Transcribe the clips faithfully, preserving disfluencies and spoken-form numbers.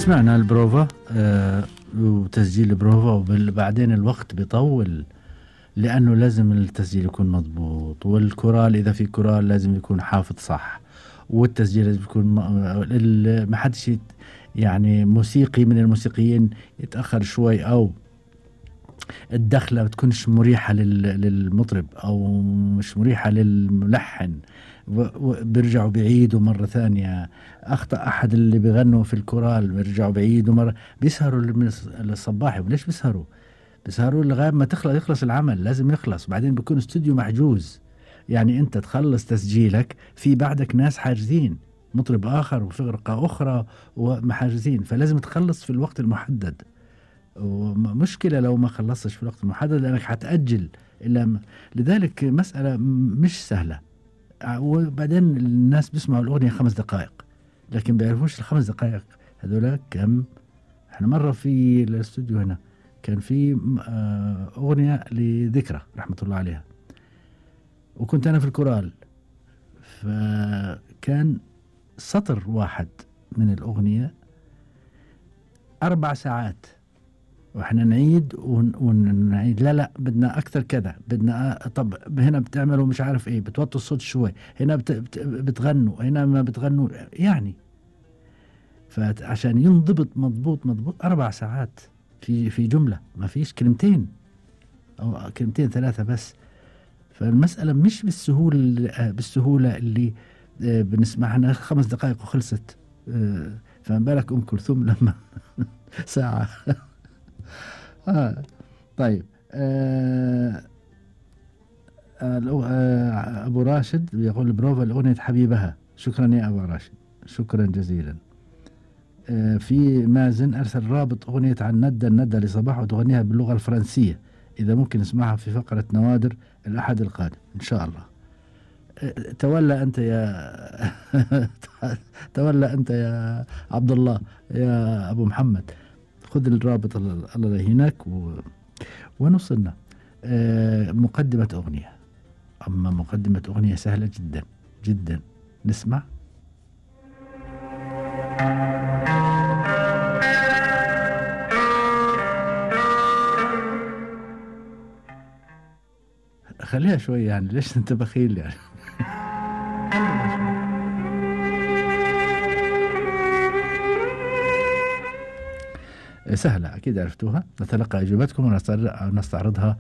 سمعنا البروفا آه وتسجيل البروفا، وبعدين الوقت بيطول لأنه لازم التسجيل يكون مضبوط، والكورال إذا في كورال لازم يكون حافظ صح، والتسجيل لازم يكون ما حدش يعني موسيقي من الموسيقيين يتأخر شوي أو الدخلة بتكونش مريحة للمطرب أو مش مريحة للملحن، بيرجعوا بعيدوا مرة ثانية. أخطأ أحد اللي بيغنوا في الكورال بيرجعوا بعيدوا مرة، بيسهروا للصباحي. وليش بيسهروا؟ بيسهروا لغاية ما تخلص يخلص العمل، لازم يخلص. بعدين بيكون استوديو محجوز، يعني أنت تخلص تسجيلك في بعدك ناس حاجزين، مطرب آخر وفرقة أخرى ومحاجزين، فلازم تخلص في الوقت المحدد. ومشكلة لو ما خلصتش في الوقت المحدد لأنك حتأجل إلا م... لذلك مسألة مش سهلة. وبعدين الناس بيسمعوا الأغنية خمس دقائق لكن بيعرفوش الخمس دقائق هذولا كم. احنا مرة في الاستوديو هنا كان في أغنية لذكرى رحمة الله عليها، وكنت أنا في الكورال، فكان سطر واحد من الأغنية أربع ساعات، وإحنا نعيد ونعيد، لا لا بدنا أكثر كذا، بدنا طب هنا بتعملوا مش عارف إيه، بتوطوا الصوت شوي، هنا بت بتغنوا، هنا ما بتغنوا يعني. فعشان ينضبط مضبوط مضبوط أربع ساعات في في جملة، ما فيش كلمتين أو كلمتين ثلاثة بس. فالمسألة مش بالسهولة بالسهولة اللي بنسمعها خمس دقائق وخلصت. فما بالك أم كلثوم لما ساعة. آه طيب. آه آه أبو راشد يقول بروفا الأغنية حبيبها. شكرا يا أبو راشد، شكرا جزيلا. آه في مازن أرسل رابط أغنية عن ندى الندى لصباح وتغنيها باللغة الفرنسية، إذا ممكن نسمعها في فقرة نوادر الأحد القادم إن شاء الله. آه تولى أنت يا تولى أنت يا عبد الله يا أبو محمد، خذ الرابط الله يهينك و... ونوصلنا. آه مقدمة أغنية، أما مقدمة أغنية سهلة جدا جدا. نسمع. خليها شوي يعني، ليش أنت بخيل يعني؟ سهلة أكيد عرفتوها. نتلقى إجابتكم ونستعرضها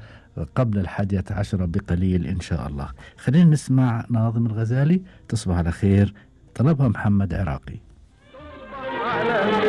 قبل الحادية عشرة بقليل إن شاء الله. خلينا نسمع ناظم الغزالي، تصبح على خير، طلبها محمد عراقي.